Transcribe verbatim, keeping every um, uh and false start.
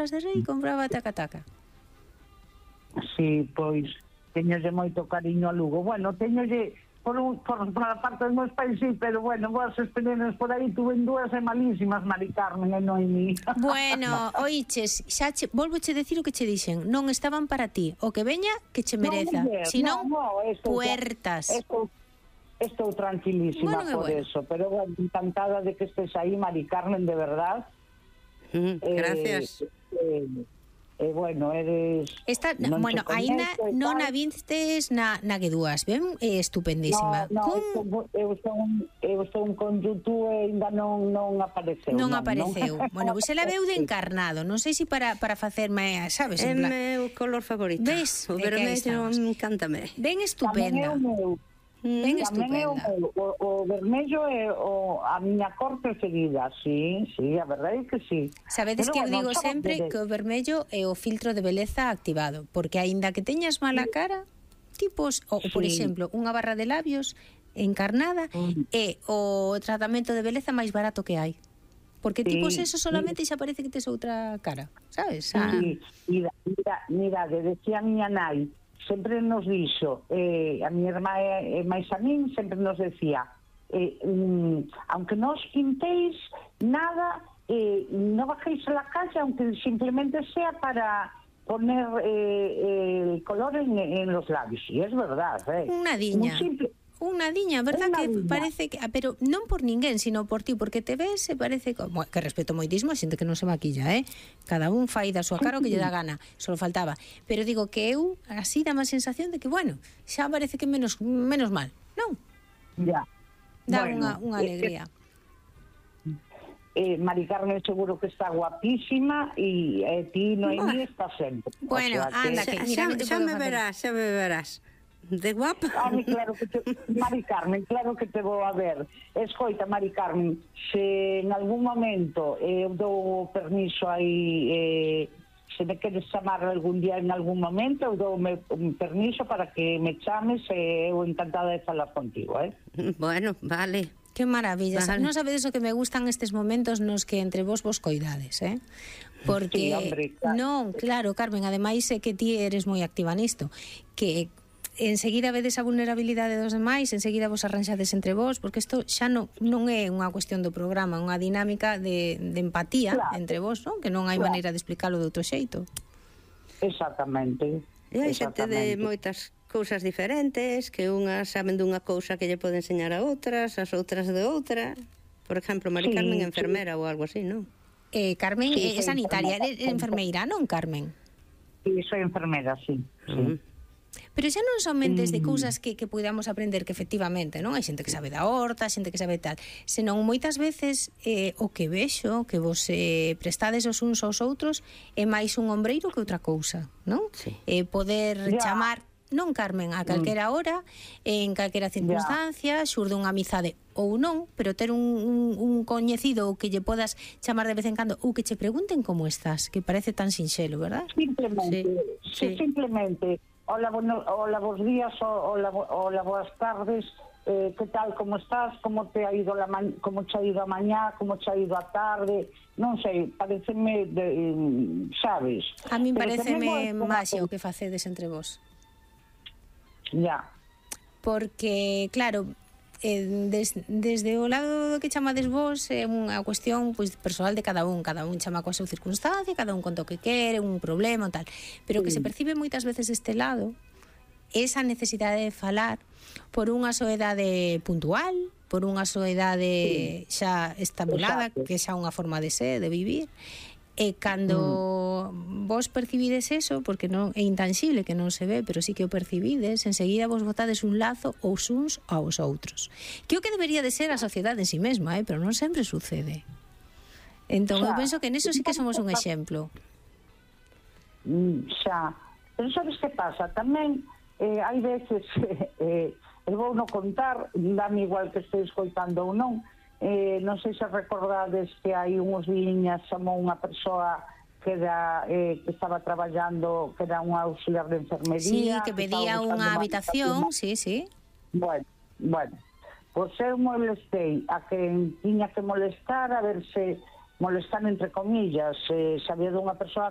de Rei compraba taca-taca. Sí, pois teñolle moito cariño a Lugo. Bueno, teñolle por, un, por, por a parte dos meus pais, sí, pero bueno, vos experiencias por aí tuve dúas e malísimas, Mari Carmen e Noemí. Bueno, oiches, xa che, volvoche decir o que che dixen, non estaban para ti, o que veña que che mereza, no, si non, no, no, estou, puertas. Estou, estou tranquilísima bueno, por bueno. eso, pero bueno, encantada de que estés aí, Mari Carmen, de verdad. Mm, gracias. Eh, eh, Eh, bueno, eres... Esta, non bueno, aínda non a vistes na, na que dúas, ben? É estupendísima. No, no, eu estou eu estou con YouTube e ainda non, non apareceu. Non, non apareceu. Non. Bueno, pois ela veu de encarnado. Non sei se para, para facerme, sabes? É meu color favorito. Ves? O vermello encántame. Ben estupenda. Tamén é o meu. Ben Tamén é o, estupenda. o, o vermello é o, a miña cor preferida, sí, sí, a verdade é que sí. Sabedes Pero que eu bueno, digo xa sempre de... que o vermello é o filtro de beleza activado, porque aínda que teñas mala cara, tipos, ou por Sí. exemplo, unha barra de labios encarnada Mm. é o tratamento de beleza máis barato que hai. Porque Sí, tipos eso solamente xa parece que tes outra cara, sabes? Ah. Sí, mira, mira, mira, de decía a miña nai, sempre nos dixo, eh, a miña irmá e, e máis a min, sempre nos decía, eh, mm, aunque non os pintéis nada, eh, non bajéis a la calle, aunque simplemente sea para poner eh, el color en, en los labios. Y es verdad, eh. Unha diña. Simple... Unha diña, verdad? Unha que diña. parece que, ah, pero non por ninguén, sino por ti, porque te ves e parece como, que respeto moitísimo a xente que non se maquilla, eh? Cada un fai da súa cara o que lle dá gana, só faltaba. Pero digo que eu así dá má sensación de que, bueno, xa parece que menos menos mal, non? Ya. Dá Bueno, unha, unha alegría. Eh, Mari Carmen seguro que está guapísima e eh, ti, Noemí, está sempre. Bueno, o sea, anda, que... que mira, xa, non te xa podo me facer. verás, xa me verás. De guapa. Ai, claro que te... Mari Carmen, claro que te vou a ver. Escoita, Mari Carmen, se en algún momento eu eh, dou permiso aí, eh, se me queres chamar algún día en algún momento, eu dou un permiso para que me chames e eu encantada de falar contigo, eh? Bueno, vale. Que maravilla, Vale. non sabedes o que me gustan estes momentos nos que entre vos vos coidades, eh? Porque Sí, hombre, claro. non, claro, Carmen, ademais é que ti eres moi activa nisto, que enseguida vedes a vulnerabilidade dos demais, enseguida vos arranxades entre vos, porque isto xa non, non é unha cuestión do programa, unha dinámica de, de empatía Claro. entre vos, non? Que non hai Claro. maneira de explicarlo de outro xeito. Exactamente. E hai xente de Exactamente. moitas cousas diferentes, que unhas saben dunha cousa que lle pode enseñar a outras, as outras de outra. Por exemplo, Mari Sí, Carmen sí. enfermera ou algo así, non? Eh, Carmen Sí, é soy sanitaria, enfermera. é enfermeira, non, Carmen? Sí, soy enfermera, sí. sí. Mm. Pero xa non somente de Mm. cousas que, que podamos aprender que efectivamente, non? Hai xente que sabe da horta, xente que sabe tal, senón moitas veces eh, o que vexo, que vos eh, prestades os uns aos outros, é máis un ombreiro que outra cousa, non? Sí. Eh, poder Ya. chamar, non, Carmen, a calquera hora, en calquera circunstancia, xurde unha amizade ou non, pero ter un, un, un coñecido que lle podas chamar de vez en cando ou que che pregunten como estás, que parece tan sinxelo, verdad? Simplemente, Sí, sí. sí, simplemente, hola, bueno, hola, bos días, o- hola, bo- hola, boas tardes, eh, que tal, como estás, como te ha ido la ma como te ha ido a mañá, como te ha ido a tarde, non sei, pareceme, de, mm, sabes? A min Pero pareceme tamén vou- máximo o que facedes entre vos. Ya, Porque, claro, eh, des, desde o lado que chamades vos é unha cuestión pois persoal de cada un, cada un chama coa súa circunstancia, cada un conta o que quere, un problema, tal, pero que se percibe moitas veces deste lado esa necesidade de falar por unha soedade puntual, por unha soedade xa estabulada, Exacto. que xa unha forma de ser, de vivir. E cando mm. vos percibides eso, porque non é intangible, que non se ve, pero sí que o percibides, enseguida vos botades un lazo aos uns aos outros. Que o que debería de ser a sociedade en si mesma, eh? Pero non sempre sucede. Entón, eu Xa. penso que neso sí que somos un exemplo. mm, xa. Pero sabes que pasa? Tamén eh, hai veces, eh, eu vou non contar, dame igual que estou escoitando ou non, eh, non sei se recordades que hai uns liñas chamou unha persoa que era eh, que estaba traballando, que era un auxiliar de Sí, enfermería, que estaba pedía buscando unha unha habitación, sí, sí. Bueno, bueno, pois eu molestei a quen tiña que molestar, a ver se molestar entre comillas, eh, se había dunha persoa